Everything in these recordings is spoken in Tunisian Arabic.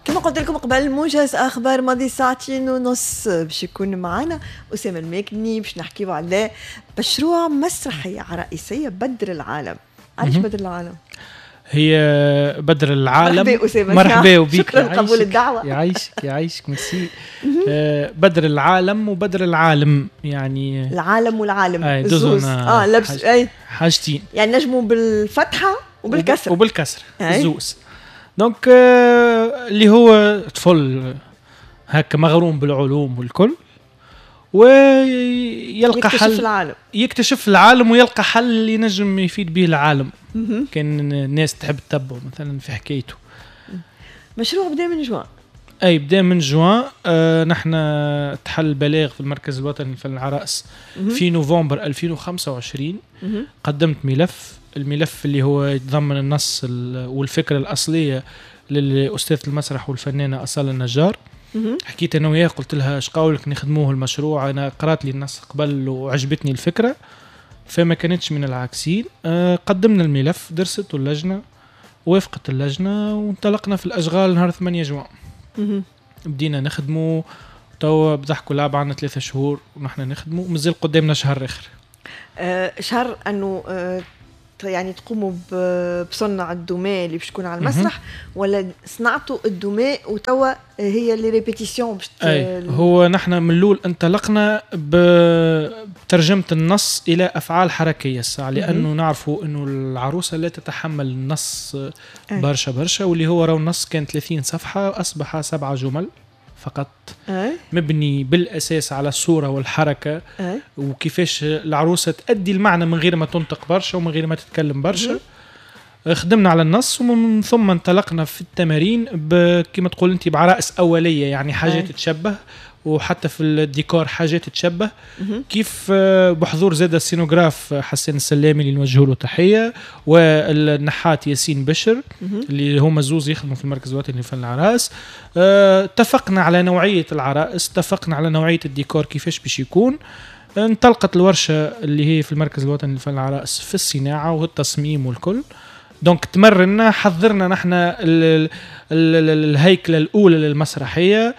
كما قلت لكم قبل، موجز اخبار ماضي ساعتين ونص، باش يكون معنا اسامة الماكني باش نحكيو على مشروع مسرحية عرائسيه بدر العالم. علاش بدر العالم؟ هي بدر العالم. مرحبا أسامة. مرحبا وبيك. شكرا لقبول الدعوة. يعيشك يعيشك، ميرسي. بدر العالم وبدر العالم يعني العالم والعالم. الزوز لبس اي حاجتين. يعني نجموا بالفتحة وبالكسر. وبالكسر الزوز. donc اللي هو طفل هكا مغروم بالعلوم والكل، ويلقى يكتشف حل العالم. يكتشف العالم ويلقى حل اللي ينجم يفيد به العالم. كان الناس تحب تتبعه مثلا في حكايته. مشروع بدا من جوان. اي بدا من جوان. نحن تحل بلاغ في المركز الوطني للفن العرائس في نوفمبر 2025. قدمت ملف، الملف اللي هو يتضمن النص والفكرة الأصلية للأستاذة المسرح والفنانة أصالة النجار. حكيت أنا وياه، قلت لها اش قولك نخدموه المشروع، أنا قرأت لي النص قبل وعجبتني الفكرة، فما كانتش من العاكسين. قدمنا الملف، درسته اللجنة، وافقت اللجنة، وانطلقنا في الأشغال نهار 8 جوان. بدينا نخدمو توا بضحك ولعب، عندنا 3 شهور ونحن نخدمو، مازال قدامنا شهر آخر. شهر أنه يعني تقوموا بصنع الدمى اللي باش تكون على المسرح، ولا صنعتوا الدمى وتوا هي les répétitions باش أي هو نحن من الاول انطلقنا بترجمه النص الى افعال حركية الساعه، لانه نعرفوا انه العروسة لا تتحمل النص برشا برشا، واللي هو راهو النص كان 30 صفحة اصبح 7 جمل فقط. مبني بالأساس على الصورة والحركة. وكيفاش العروسة تأدي المعنى من غير ما تنطق برشا ومن غير ما تتكلم برشا. خدمنا على النص ومن ثم انطلقنا في التمارين كما تقول انت بعرائس أولية، يعني حاجات تشبه، وحتى في الديكور حاجات تشبه. كيف بحضور زاد السينوغراف حسين السلامي اللي نوجه له تحية، والنحات ياسين بشر اللي هما زوز يخدموا في المركز الوطني لفن العرائس. اتفقنا على نوعية العرائس، اتفقنا على نوعية الديكور كيفاش باش يكون. انطلقت الورشة اللي هي في المركز الوطني لفن العرائس في الصناعة والتصميم والكل. donc تمرنا، حضرنا نحن الهيكلة الأولى للمسرحية،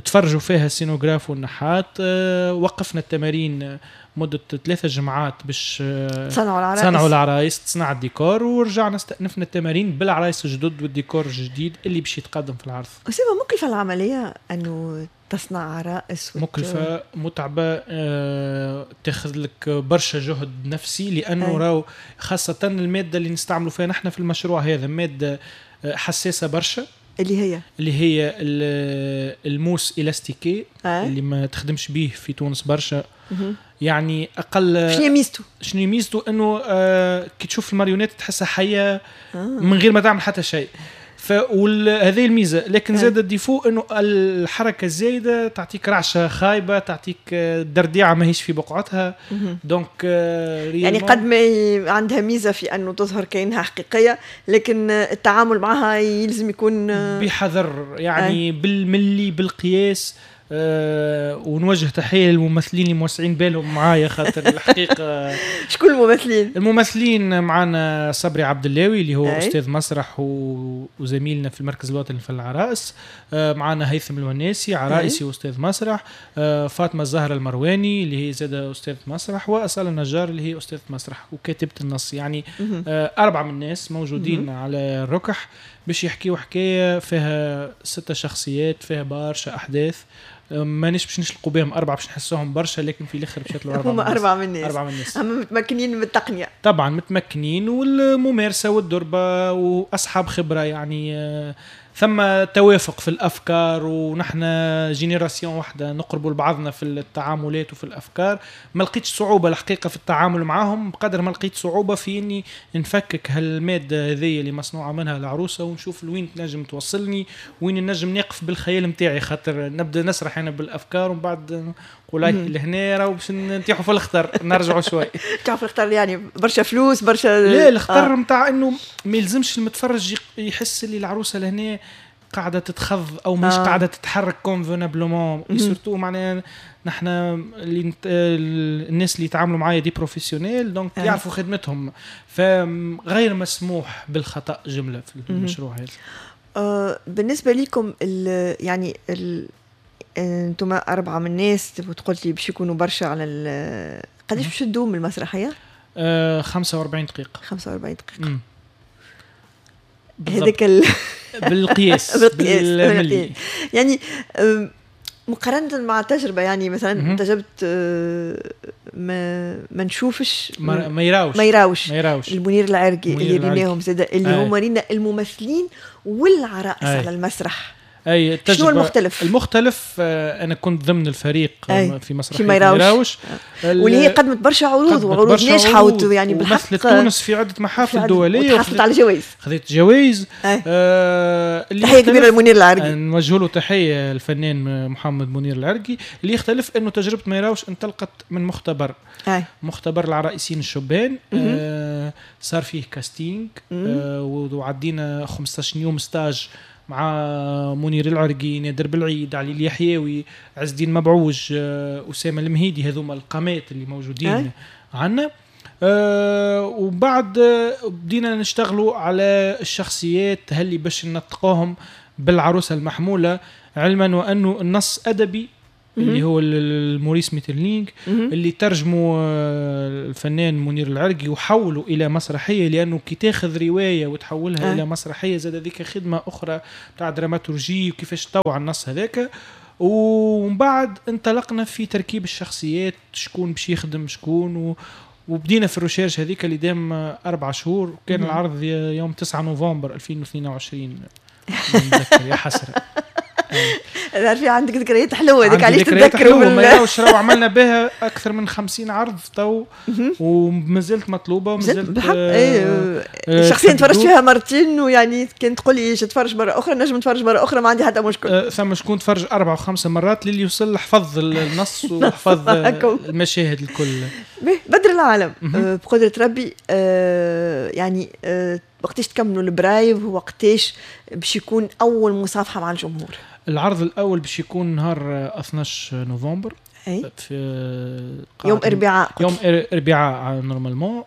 تفرجوا فيها السينوغراف والنحات. وقفنا التمارين مدة 3 جمعات باش صنعوا العرايس، تصنع الديكور، ورجعنا استأنفنا التمارين بالعرايس الجدد والديكور الجديد اللي باش يتقدم في العرض. أسامة، مكلفة العملية أنه تصنع عرائس؟ مكلفة، متعبة، تاخذ لك برشا جهد نفسي، لأنه راهو خاصة المادة اللي نستعملوا فيها نحن في المشروع هذا مادة حساسة برشا، اللي هي ال mousse élastiquée اللي ما تخدمش بيه في تونس برشا. يعني اقل شنو ميزته؟ شنو ميزته انه كي تشوف الماريونيت تحسها حيه من غير ما تعمل حتى شيء، فهذه الميزة. لكن زاد ال défaut انه الحركة الزايدة تعطيك رعشه خايبة، تعطيك درديعه ماهيش في بقعتها. donc يعني قد ما عندها ميزة في انه تظهر كانها حقيقية، لكن التعامل معها يلزم يكون بحذر، يعني بالملي بالقياس. ونوجه تحية للممثلين اللي موسعين بالهم معايا، خاطر الحقيقة شكون الممثلين؟ الممثلين معنا صبري عبد اللاوي اللي هو أستاذ مسرح وزميلنا في المركز الوطني للفن العرائس، معنا هيثم الوناسي عرائسي وأستاذ مسرح، فاطمة الزهرة المرواني اللي هي زادة أستاذ مسرح، وأصالة النجار اللي هي أستاذ مسرح وكاتبة النص. يعني 4 من الناس موجودين على الركح باش يحكيوا حكاية فيها 6 شخصيات، فيها برشا أحداث، مانيش باش نشلقوا بهم 4 باش نحسوهم برشا، لكن في الاخر باش يطلعوا 4. هما 4 من الناس. 4 من الناس. اما متمكنين من التقنية. طبعا متمكنين، والممارسة والدربه واصحاب خبره، يعني ثم توافق في الافكار، ونحن génération واحدة نقربوا لبعضنا في التعاملات وفي الافكار. ما لقيتش صعوبة الحقيقة في التعامل معاهم بقدر ما لقيت صعوبة في اني نفكك هالماده هذه اللي مصنوعة منها العروسة، ونشوف لوين تنجم توصلني، وين نجم نقف بالخيال نتاعي، خاطر نبدا نسرح انا بالافكار ومن بعد نقول لهنا راهو باش نطيحوا في الخطر، نرجعوا شوي. نطيحوا في الخطر يعني برشا فلوس برشا. لا، الخطر نتاع انه ما يلزمش المتفرج يحس اللي العروسة لهنا قاعدة تتخض او مش قاعدة تتحرك convenablement. surtout معناها نحن اللي الناس اللي يتعاملوا معايا des professionnels، donc يعرفوا خدمتهم، فغير مسموح بالخطا جملة في المشروع هذا. بالنسبة لكم يعني انتم 4 من الناس وتقول لي باش يكونوا برشا على قداش باش تدوم المسرحية؟ 45 دقيقة. 45 دقيقة هذاك بالقياس بالقياس يعني مقارنة مع التجربة، يعني مثلا تجربة ما نشوفش ما يراوش المنير العرقي اللي ريناهم زاد اللي هما رينا الممثلين والعرائس على المسرح. اي شنو المختلف؟ المختلف انا كنت ضمن الفريق في مسرحية ما يراوش واللي هي قدمت برشا عروض وعروض ناجحة يعني بالحق ومثلت تونس في عده محافل دولية وحصلت على جوائز، خذيت جوائز. تحية كبيرة لمنير العرقي، نوجه له تحية الفنان محمد منير العرقي. اللي يختلف انه تجربه ما يراوش انطلقت من مختبر مختبر العرائسين الشبان. صار فيه casting وعدينا 15 يوم stage مع منير العرقي، نادر بالعيد، علي اليحيوي، عز الدين مبعوج، أسامة المهيدي، هذوما القامات اللي موجودين عنا. وبعد بدينا نشتغلوا على الشخصيات هل باش ننطقوهم بالعروسة المحمولة، علما وأنه النص أدبي اللي هو الموريس ميترلينغ اللي ترجموا الفنان منير العرقي وحولوا الى مسرحية، لانه كي تاخذ رواية وتحولها الى مسرحية زاد هذيك خدمة اخرى تاع dramaturgie وكيفاش تطوع النص هذاك. ومن بعد انطلقنا في تركيب الشخصيات، شكون باش يخدم شكون، وبدينا في ال recherche هذيك اللي دام 4 شهور. وكان العرض يوم 9 نوفمبر 2022 نتذكر يا حسرة. في عندك ذكريات حلوة هذيك علاش تتذكروا؟ ما يراوش راهو عملنا بها اكثر من 50 عرض تو ومازلت مطلوبه ومازلت بالحق. شخصيا تفرجت فيها مرتين، ويعني كان تقول لي تفرج مرة اخرى نجم نتفرج مرة اخرى، ما عندي حتى مشكل. ثم شكون تفرج 4 و5 مرات للي وصل حفظ النص وحفظ المشاهد الكل. بدر العالم بقدره ربي يعني وقتاش تكملوا ال preuves، وقتاش باش يكون اول مصافحه مع الجمهور؟ العرض الاول باش يكون نهار 12 نوفمبر. في يوم اربعاء، يوم اربعاء normalement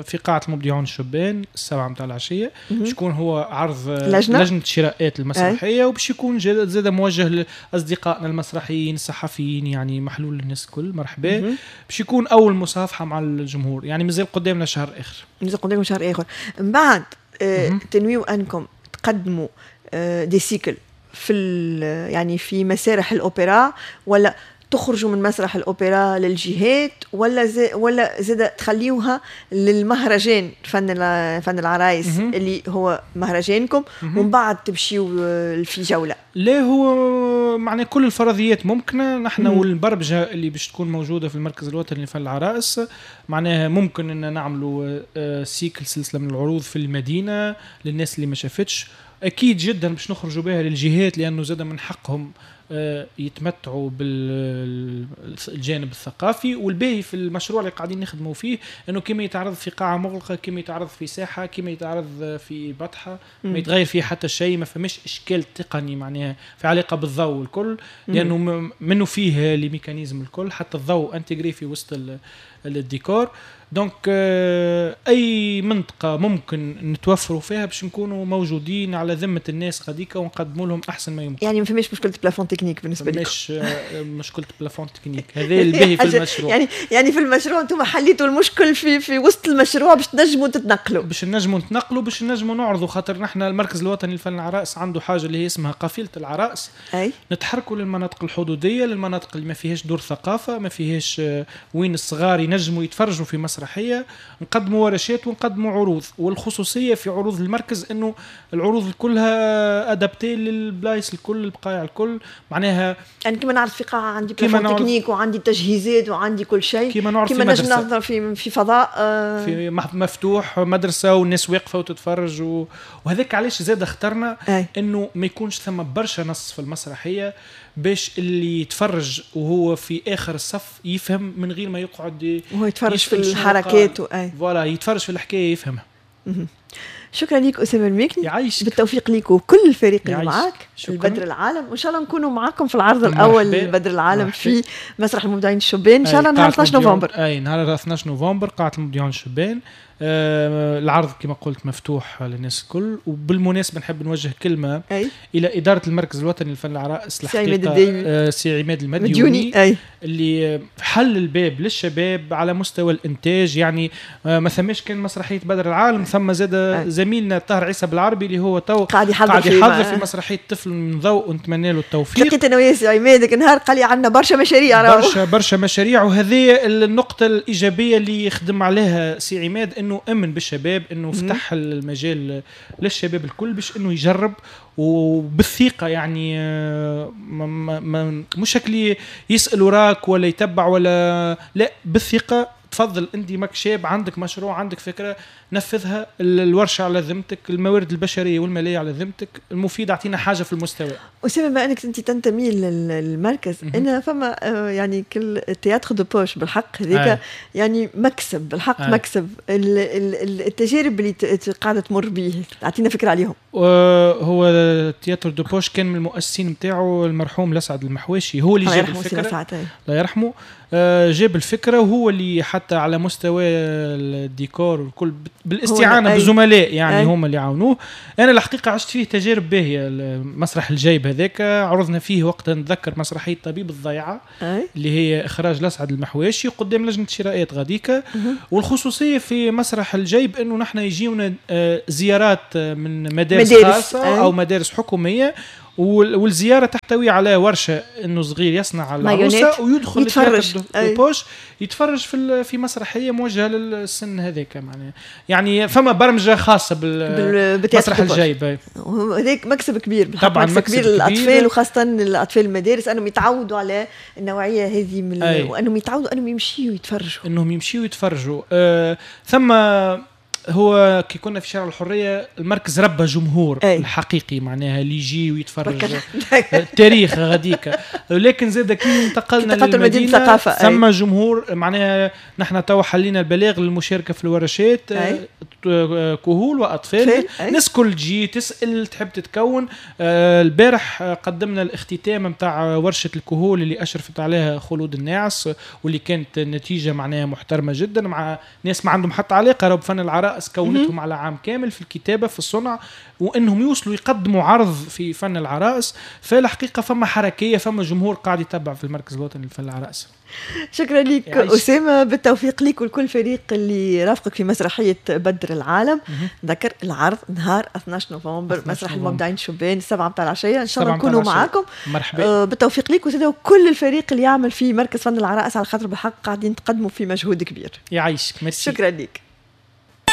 في قاعة المبدعون الشبان 7 متاع العشية. باش يكون هو عرض لجنة شراءات المسرحية، وباش يكون زاد موجه لاصدقائنا المسرحيين الصحفيين، يعني محلول للناس الكل، مرحبا. باش يكون اول مصافحه مع الجمهور، يعني مازال قدامنا شهر اخر، مازال قدامكم شهر اخر. من بعد تنويو انكم تقدموا des cycles في يعني في مسارح الاوبرا، ولا تخرجوا من مسرح الأوبرا للجهات، ولا زاد تخليوها للمهرجان فن العرايس اللي هو مهرجانكم، ومن بعد تمشيوا في جولة؟ لا، هو معناه كل الفرضيات ممكنة. نحن والبربجة اللي باش تكون موجودة في المركز الوطني لفن العرائس، معناها ممكن ان نعملوا cycle، سلسلة من العروض في المدينة للناس اللي ما شافتش. اكيد جدا باش نخرجوا بها للجهات، لانه زاد من حقهم يتمتعوا بالجانب الثقافي. والباهي في المشروع اللي قاعدين نخدموا فيه انه كما يتعرض في قاعة مغلقة، كما يتعرض في ساحة، كما يتعرض في بطحه، ما يتغير فيه حتى شيء، ما فماش اشكال تقني معناها في علاقة بالضوء الكل، لانه منه فيه les mécanismes الكل، حتى الضوء intégré في وسط الديكور. donc اي منطقة ممكن نتوفروا فيها باش نكونوا موجودين على ذمه الناس غاديكا ونقدموا لهم احسن ما يمكن. يعني ما فماش مشكلة plafond technique بالنسبة لكم؟ مش مشكلة plafond technique، هذا الباهي في المشروع. يعني في المشروع انتم حليتوا المشكل في وسط المشروع باش تنجموا تتنقلوا، باش نجموا نتنقلوا، باش نجموا نعرضوا، خاطر نحن المركز الوطني للفن العرائس عنده حاجة اللي هي اسمها قافله العرائس. أي؟ نتحركوا للمناطق الحدوديه، للمناطق اللي ما فيهاش دور ثقافة، ما فيهاش وين الصغار ينجموا يتفرجوا في مسرحية، نقدموا ورشات ونقدموا عروض. والخصوصيه في عروض المركز انه العروض كلها adaptées للبلايص الكل، البقايع الكل، معناها يعني كما نعرف في قاعة عندي plafond technique وعندي تجهيزات وعندي كل شيء، كما نعرف في مدرسه، في فضاء في مفتوح مدرسه والناس واقفة وتتفرج وهذاك علاش زاد اخترنا انه ما يكونش ثم برشا نص في المسرحية، باش اللي يتفرج وهو في اخر الصف يفهم من غير ما يقعد وهو يتفرج في الحركات voilà يتفرج في الحكاية يفهمها. شكرا لك أسامة الماكني، يعيشك. بالتوفيق لك وكل الفريق اللي معاك البدر العالم، وان شاء الله نكونوا معاكم في العرض الاول لبدر العالم في مسرح المبدعين الشبان ان شاء الله نهار 12 نوفمبر. اي نهار 12 نوفمبر قاعة المبدعين الشبان العرض كما قلت مفتوح للناس الكل. وبالمناسبة نحب نوجه كلمة إلى إدارة المركز الوطني للفن العرائس، الحقيقة سي عماد المديوني اللي حل الباب للشباب على مستوى الإنتاج. يعني ما ثماش كان مسرحية بدر العالم، ثم زاد زميلنا طاهر عيسى بالعربي اللي هو تو قاعد يحضر في مسرحية طفل من ضوء، ونتمنى له التوفيق. لقيت أنا ويا سي عماد ذاك النهار قال لي عندنا برشا مشاريع، برشا مشاريع. وهذه النقطة الإيجابية اللي يخدم عليها سي عماد، انه امن بالشباب، انه فتح المجال للشباب الكل باش انه يجرب وبالثقه. يعني مش شكلي يسال وراك ولا يتبع ولا لا، بالثقة تفضل انت ماك شاب، عندك مشروع، عندك فكرة، نفذها. الورشة على ذمتك، الموارد البشرية والمالية على ذمتك، المفيد اعطينا حاجة في المستوى. اسامة بما انك انت تنتمي للمركز، انا فما يعني كل théâtre de poche بالحق هذيك يعني مكسب بالحق، مكسب التجارب اللي قاعدة تمر به، اعطينا فكرة عليهم. هو théâtre de poche كان من المؤسسين نتاعو المرحوم لسعد المحواشي، هو اللي جاب الفكرة، الله يرحمه، جاب الفكرة وهو اللي حتى على مستوى الديكور والكل بالاستعانه بالزملاء يعني هما اللي عاونوه. انا الحقيقة عشت فيه تجارب باهيه. مسرح الجيب هذاك عرضنا فيه وقتها، نتذكر مسرحية طبيب الضيعة اللي هي اخراج لسعد المحواشي قدام لجنة شرائات غاديكا. والخصوصيه في مسرح الجيب انه نحن يجيونا زيارات من مدارس خاصة او مدارس حكومية، والزيارة تحتوي على ورشه انه صغير يصنع العروسة ويدخل يتفرج poche، يتفرج في مسرحية موجهة للسن هذاك. معناها يعني فما برمجة خاصة بالمسرح الجايب، هذاك مكسب كبير طبعا، مكسب كبير للاطفال وخاصة الاطفال المدارس، انهم يتعودوا على النوعية هذه من وانهم يتعودوا انهم يمشيوا يتفرجوا، انهم يمشيوا يتفرجوا. ثم هو كي كنا في شارع الحرية المركز ربى جمهور الحقيقي، معناها اللي يجي ويتفرج التاريخ غاديك. لكن زاد كي انتقلنا للمدينة ثم جمهور، معناها نحن تو حلينا البلاغ للمشاركة في الورشات، كهول وأطفال، ناس كل تجي تسأل تحب تتكون. البارح قدمنا الاختتام نتاع ورشة الكهول اللي أشرفت عليها خلود الناعس، واللي كانت نتيجة معناها محترمة جدا، مع ناس ما عندهم حتى علاقة بفن العرائس، كونتهم على عام كامل في الكتابة في الصنع، وانهم يوصلوا يقدموا عرض في فن العرائس. فالحقيقة فما حركية، فما جمهور قاعد يتبع في المركز الوطني لفن العرائس. شكرا لك أسامة، بالتوفيق لك ولكل فريق اللي رافقك في مسرحية بدر العالم. ذكر العرض نهار 12 نوفمبر مسرح المبدعين شبان 7 متاع العشية، إن شاء الله نكونوا معاكم. مرحبا، بالتوفيق لك وسيدة وكل الفريق اللي يعمل في مركز فن العرائس، على خاطر بالحق قاعدين تقدموا في مجهود كبير. يعيشك، ميرسي، شكرا لك.